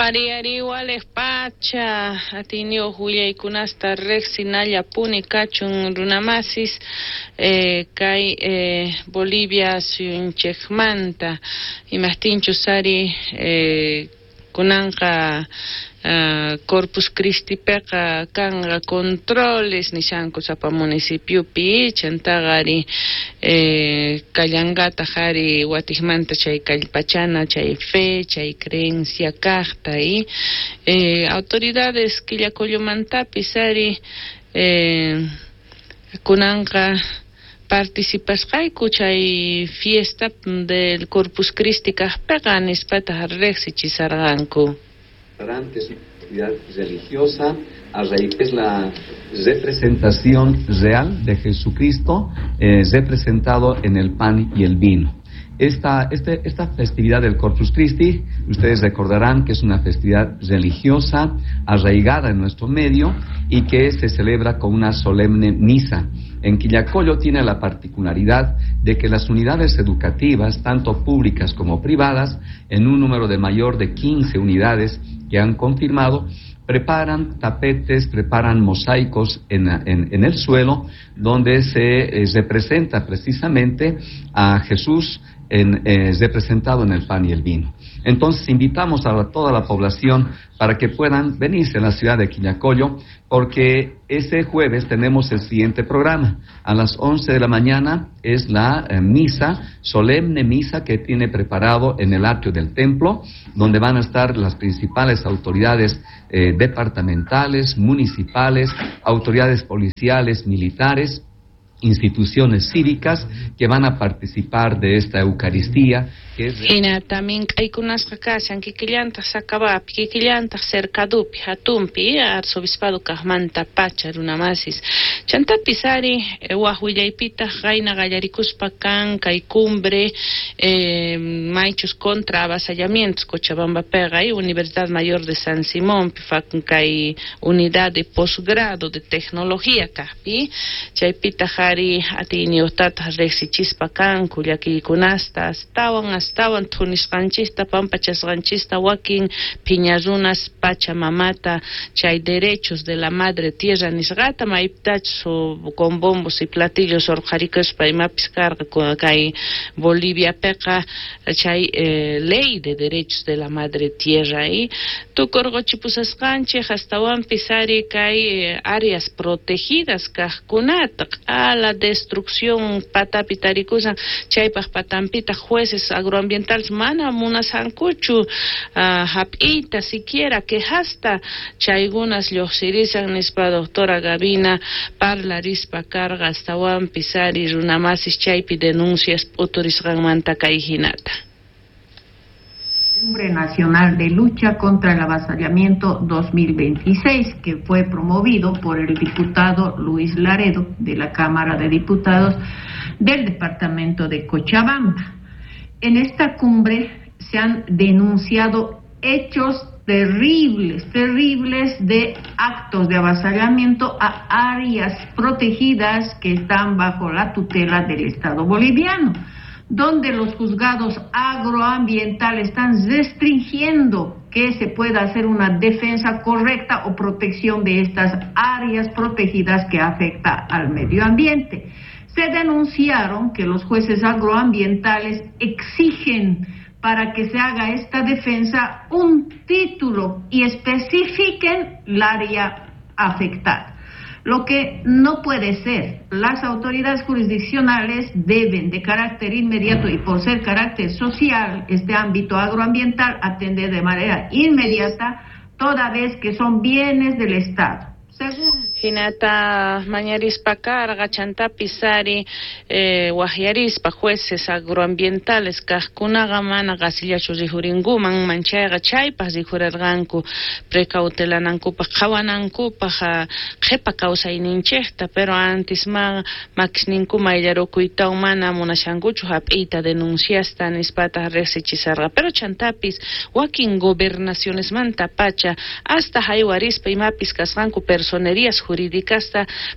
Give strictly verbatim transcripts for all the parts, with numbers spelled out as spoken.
Wari walej pacha atiniyoj willaykunasta riqsinallapuni kachun runamasis eh, kay eh, Bolivia suyunchikmanta imajtinchus ari eh, kunanqa uh, Corpus Christi peqa kanqa controles nishanku sapa municipiopi chantaqa ari eh, kallanqataq ari watikmanta chay kallpachana chay fe chay creencia kaqta y eh, autoridades Quillacollomantapis ari eh, kunanqa participasqayku chay fiesta del Corpus Christi kaqpiqa nispataq riqsichisarqanku. Es una actividad religiosa a raíz es la representación real de Jesucristo eh, representado en el pan y el vino. Esta, este, esta festividad del Corpus Christi, ustedes recordarán que es una festividad religiosa arraigada en nuestro medio y que se celebra con una solemne misa. En Quillacollo tiene la particularidad de que las unidades educativas, tanto públicas como privadas, en un número de mayor de quince unidades que han confirmado, preparan tapetes, preparan mosaicos en, en, en el suelo, donde se eh, representa precisamente a Jesús en, eh, representado en el pan y el vino. Entonces invitamos a toda la población para que puedan venirse a la ciudad de Quillacollo, porque ese jueves tenemos el siguiente programa. A las once de la mañana es la eh, misa, solemne misa que tiene preparado en el atrio del templo, donde van a estar las principales autoridades eh, departamentales, municipales, autoridades policiales, militares, instituciones cívicas que van a participar de esta Eucaristía. Hina también kaykunasqa kashan kikillantaq Sakabapi, kikillantaq Cercadupi, hatunpi, arzobispado kaqmanta pacha runamasis. Chantapis ari waj willaypitaq qayna qallarikuspa kan kay cumbre eh, maychus contra avasallamientos Cochabambapiqa y Universidad Mayor de San Simón kay unidad de posgrado de tecnología kaqpi chaypitaq ari atiyniyuqtataq riqsichispa kanku llakiykunasta astawan astawan thunisqanchista pampachasqanchista wakin phiña runas Pachamamata chay derechos de la madre tierra nisqata maypitachus con bombos y platillos urqharikuspa imapis karqa kay Boliviapiqa chay eh, ley de derechos de la madre tierra y tukurquchipusasqanchik astawanpis ari kay eh, áreas protegidas kaqkunata q'ala destrucción patapi tarikusan chaypaq patanpitaq jueces agroambientales mana munasankuchu uh, hap'iyta siquiera quejasta chaykunas lluqsirisan nispa doctora Gabina parlarispa karqa astawanpis ari runamasis chaypi denuncias p'uturisqanmanta kay hinata. Cumbre Nacional de Lucha contra el Avasallamiento dos mil veintiséis, que fue promovido por el diputado Luis Laredo de la Cámara de Diputados del Departamento de Cochabamba. En esta cumbre se han denunciado hechos terribles, terribles de actos de avasallamiento a áreas protegidas que están bajo la tutela del Estado boliviano, donde los juzgados agroambientales están restringiendo que se pueda hacer una defensa correcta o protección de estas áreas protegidas que afecta al medio ambiente. Se denunciaron que los jueces agroambientales exigen para que se haga esta defensa un título y especifiquen el área afectada. Lo que no puede ser. Las autoridades jurisdiccionales deben de carácter inmediato y por ser carácter social, este ámbito agroambiental, atender de manera inmediata toda vez que son bienes del Estado. Según Hinata mañarispa karqa chantapis ari eh, waqyarispa jueces agroambientales kaqkunaqa mana qasillachu rijurinkuman manchayqa chaypaq rijurarqanku precautelanankupaq qhawanankupaq qhipa kawsayninchikta, pero antes ma makisninku mayllarukuytawan mana munashankuchu hap'iyta denunciasta nispataq riqsichisarqa, pero chantapis wakin gobernacionesmanta pacha hasta haywarispa imapis kasqanku personerías jurídicas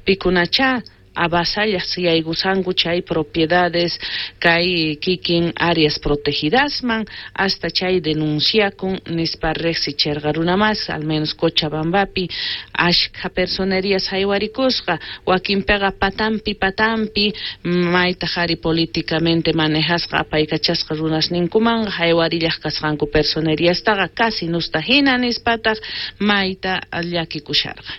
pikunachá avasallaj yaykusanku chay propiedades kay kikin áreas protegidasman hasta chay denunciakun nispa riqsicherqa runa mas al menos Cochabambapi ashkha personerías haywarikusqa wakinpiqa patampi patampi mayta ari políticamente manejasqa apaykachasqa runasninkumanqa haywarillaq kasqanku personeriastaqa casi nusta hina nispataq mayta llakikusharqa.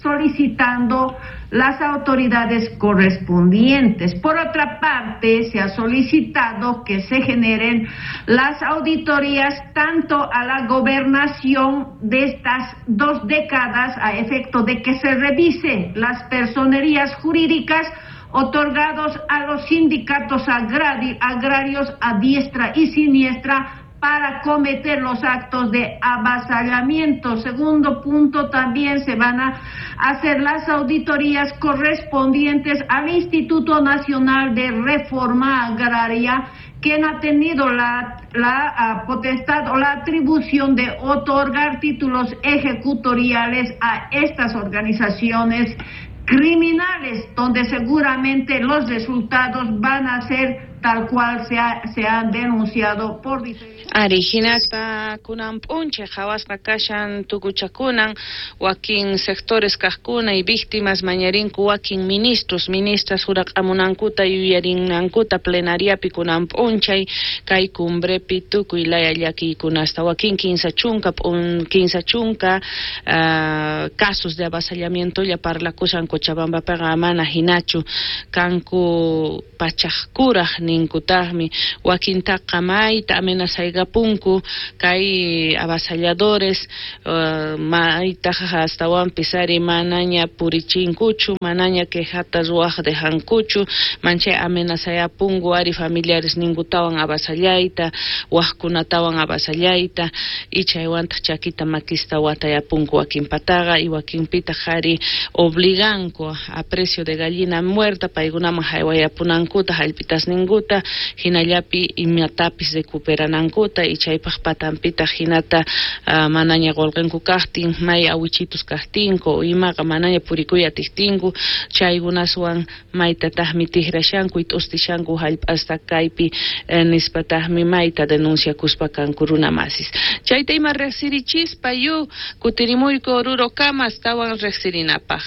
Solicitando las autoridades correspondientes. Por otra parte, se ha solicitado que se generen las auditorías tanto a la gobernación de estas dos décadas a efecto de que se revisen las personerías jurídicas otorgados a los sindicatos agrari- agrarios a diestra y siniestra para cometer los actos de avasallamiento. Segundo punto, también se van a hacer las auditorías correspondientes al Instituto Nacional de Reforma Agraria, quien ha tenido la, la uh, potestad o la atribución de otorgar títulos ejecutoriales a estas organizaciones criminales, donde seguramente los resultados van a ser tal cual se, ha, se han denunciado por diferentes... Ari, hinaspa kunan p'unchay qhawasqa kashan tukuchakunan wakin sectores kaqkuna y víctimas mañarinku wakin ministros, ministras huraq'amunankuta yuyarinankuta plenariapi kunan p'unchay kay cumbrepi tukuy laya llakiykunasta wakin kinsa chunka p'un kinsa chunka uh, casos de avasallamiento lla parlakushan Cochabambapiqa mana hinachu kanku pachaqkuraq ninkutaqmi wakintaqa mayta amenazaykapunku kay avasalladores uh, maytaqa astawanpis ari manaña purichinkuchu manaña quejata ruwaq dejankuchu manchay amenazayapunku ari familiares ninkutawan avasallayta waqkunatawan avasallayta y chaywantaq chakita makista watayapunku wakinpataqa y wakinpitaq ari obliganku a precio de gallina muerta paykunaman haywayapunankuta hallp'itasninkuta hinallapi imatapis recuperanankuta y chaypaq patanpitaq hinata uh, manaña qullqinku kaqtin may awichitus kaqtinku imaqa manaña purikuy atiqtinku chaykunaswan maytataqmi tikrashanku y t'ustishanku hallp'asta kaypi eh, nispataqmi mayta denunciakuspa kanku runa masis. Chayta ima riqsirichispa yu kutirimuyku Oruro kama astawan riqsirinapaq.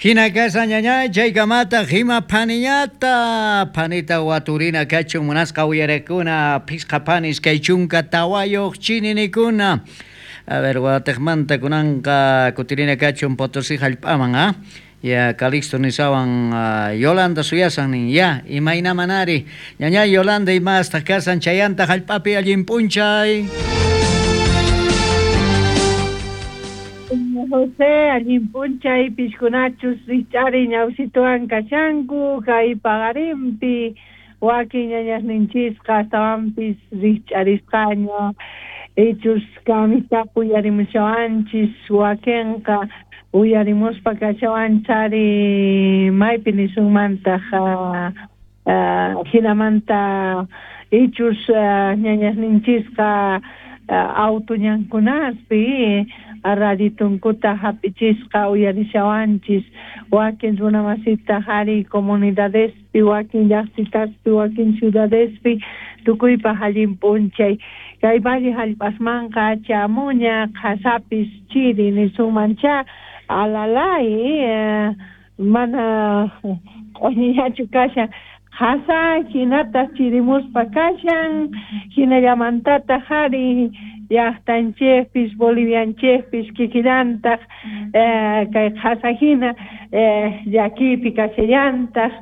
Hina kasa ñañay chaykamata hima phaniñata phanita waturina kachun munasqa uyarakuna phisqa phanis kay chunka tawayuq chininikuna. A ver, watejmanta kunanqa kutirina kachun Potosí hallp'aman, ah? Ya Calixto nisawan uh, Yolanda suyasan nin ya imaynamanari ñañay Yolanda imastaq kasan chayanta hallp'api allin p'unchay. José, allin p'unchay pishkunachus rich'ari ñawsituwan kashanku kay paqarinpi wakin ñañasninchisqa astawanpis rich'arisqaña ichus kamitaqa uyarimushawanchis wakinqa uyarimuspa kashawanchari maypi nisunmantaq hinamanta ichus ñañasninchisqa auto ñankunaspi raditunkuta hap'ichisqa uyarishawanchis wakin runamasita ari comunidadespi wakin llaqtitaspi wakin ciudadespi tukuypaq allin p'unchay kay valle hallp'asmanqa chamuña qhasapis chiri nisunmancha alalay eh, mana q'uñillachu kashan qhasa hinataq chirimuspa kashan hinallamantataq ari llaqtanchikpis Bolivianchikpis kikillantaq eh, kay qhasa hina eh, llakiypi kashallantaq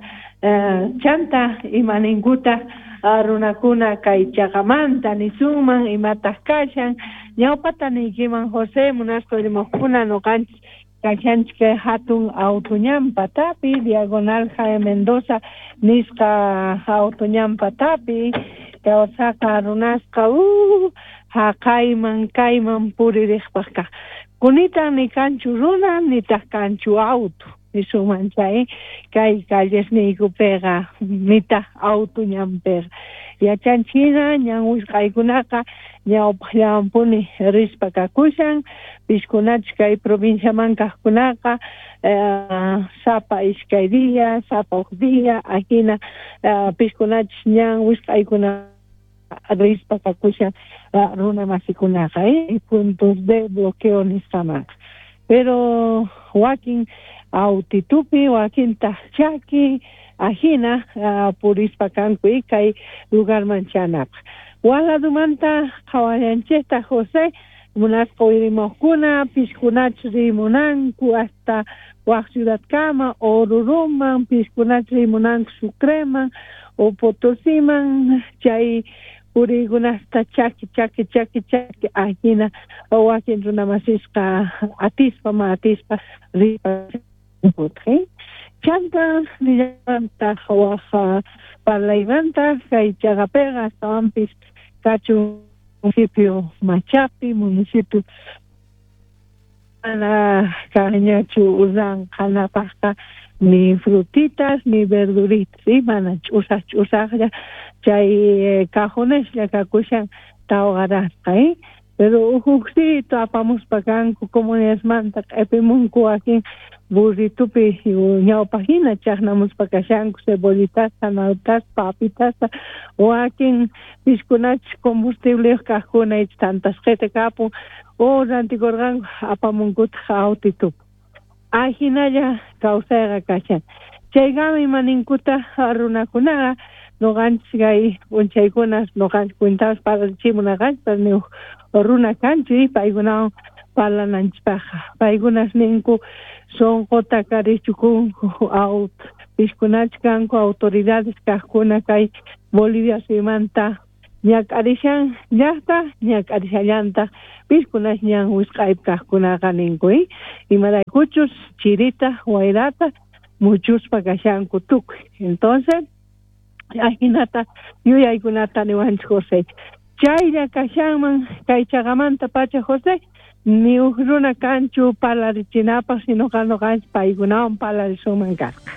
eh, chanta imaninkutaq runakuna kay chaqamanta nisunman imataq kashan ñawpata niykiman José munasqa rimaqkuna nuqanchis kashanchik kay hatun auto ñan patapi diagonal Jaime Mendoza nisqa auto ñan patapi kawsaqa runasqa uh, haqayman kayman puririqpaq kaq kunitan ni kanchu runa nitaq kanchu auto. nisunman chay kay callesniykupiqa nitaq auto ñanpiqa yachanchina ñan wisq'aykunaqa ñawpaqllawanpuni rispa kakushan piskunachus kay provinciaman kaqkunaqa eh, sapa iskay día sapa huk día ajina eh, piskunachus ñan wisq'aykuna rispa kakushan runa masikunaqa eh, puntos de bloqueo nisqamanqa pero wakin autitupi wakintaq chaki ajina uh, purispa kanku y kay lugarman chanapaq waladumanta qhawayanchikta José munasqa uyrimuqkuna piskunachus rimunanku hasta wak ciudadkama Oruruman piskunachus rimunanku Sucreman o Potosiman chay puriykunasta chaki chaki chaki chaki ajina wakin runamasisqa atispa ma atispa ripa chanta nillamantaq waj parlaymanta kay chaqapiqa astawanpis kachun municipio Machapi municipio mana kanñachu ranqanapaqqa ni frutitas ni verduritas ¿sí? Mana ch'usaq ch'usaqlla chay cajoneslla kakushan tawqarasqa ¿eh? Pero huksito apamuspa kanku comunidadmanta q'ipimunku wakin burritupi ñawpaqhina chaqnamuspa kashanku cebollitasta, nawtasta, papitasta wakin piskunachus combustibleyuq kaqkuna icha tantasqita kapun o rantikurqanku apamunkutaq autitupi ajinalla kawsayqa kashan chaykama imaninkuta runakunaqa noqanchis kay p'unchaykunas noqanchis cuentapas parlachimunaqanchis ni runa kanchu paykunawan parlananchispaqqa paykunas ninku sunquta karichukunku aut piskunachus kanku autoridades kaqkuna kay Bolivia suymanta ñak'arishan llaqta ñak'arishallantaq piskunas ñan wisq'aypi kaqkunaqa ninku imaraykuchus chirita wayrata muchuspa kashanku tukuy entonces ajinata yuyaykunata niwanchik José chaylla kashanman kay chaqamanta pacha José ni huk runa kanchu parlarichinapaq sinoqa noqanchik paykunawan parlarisunman kasqa.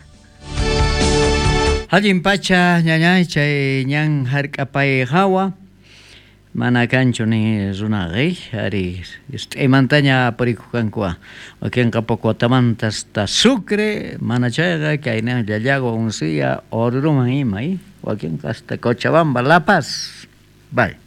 Allin pacha ñañay chay ñan hark'apay hawa mana kanchu ni runaqa ari ist'aymantaña purikuq wakinqa poco watamanta hasta Sucre mana chayqa kayna Llallagua Uncía Oruruman ima wakinqa hasta Cochabamba La Paz bye.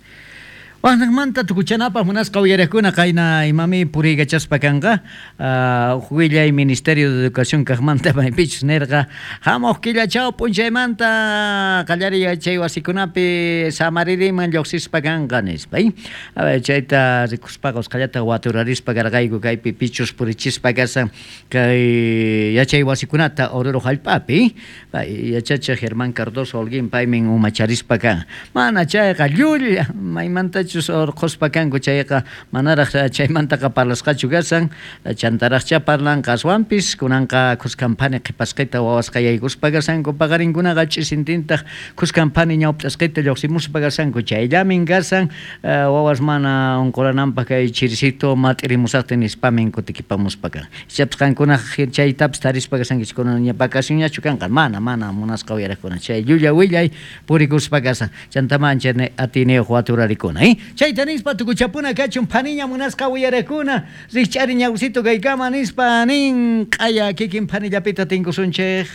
Waqnaqmanta tukuchanapaq munasqa uyariqkuna qayna imami puriykachaspa kanqa uh, willay Ministerio de Educación kaqmanta maypichus nirqa hamuq killachaw p'unchaymanta qallariy yachay wasikunapi samaririman lluqsispa kanqa nispa a ver chayta rikuspaqa usqhallata waturarispa karqayku kaypi pichus purichispa kasan kay yachay wasikunata Oruro hallp'api pay yachachiq Germán Cardoso Holguín paymin umacharispa kan mana chayqa llulla maymanta orqhuspa kanku chayqa manaraq chaymantaqa parlasqachu kasan chantaraqcha parlanqa aswanpis kunanqa khuskanphani qhipasqita wawasqa yaykuspa kasanku paqarinkunaqa ch'isintintaq khuskanphani ñawp'asqita lluqsimuspa kasanku chayllamin kasan wawas mana unqurananpaq kay chirisito mat'irimusaqtin nispamin kutikipamuspa kan ichapas qankunaqa chaytapis tarispa kasankichik kunan vacacionñachu kanqa mana mana munasqa uyariqkuna chay llulla willay purikuspa kasan chantama ancha atiniyuq waturarikuna eh? Chayta nispa tukuchapuna kachun phaniña munasqa uyarakuna rikch'ari ñawsito kaykama nispa nin q'aya kikin phanillapita tinkusunchik.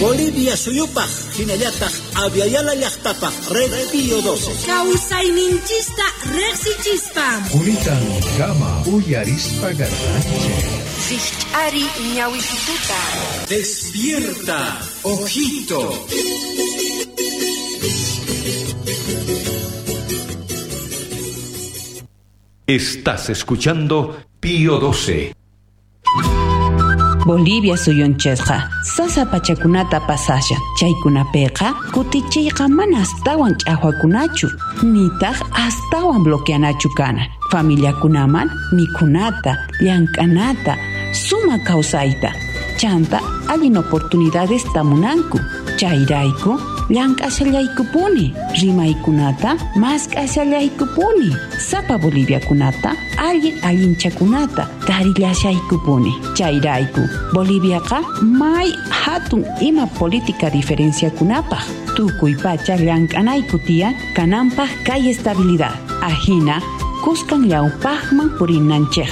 Bolivia suyupaq hinallataq Aviala llaqtapaq Red Pío doce. Kawsayninchista riqsichispa. Quritan kama uyarispa garranchik. Rikch'ari ñawisituta. Despierta, ojito. Estás escuchando Pío doce. Bolivia suyunchikqa sasa pachakunata pasashan chaykunapiqa kutichiyqa mana astawan ch'aqwakunachu nitaq astawan bloqueanachu kana familiakunaman mikhunata llank'anata suma kawsayta chanta allin oportunidades tamunanku chayrayku llank'ashallaykupuni, rimaykunata mask'ashallaykupuni, sapa Boliviakunata allin allinchakunata tarillashaykupuni. Chayrayku, Boliviaqa may hatun ima política diferenciakunapaj tukuy pacha llank'anayku tiyan kananpaj kay estabilidad. Ajina kuskan llawpajman purinanchejpaj.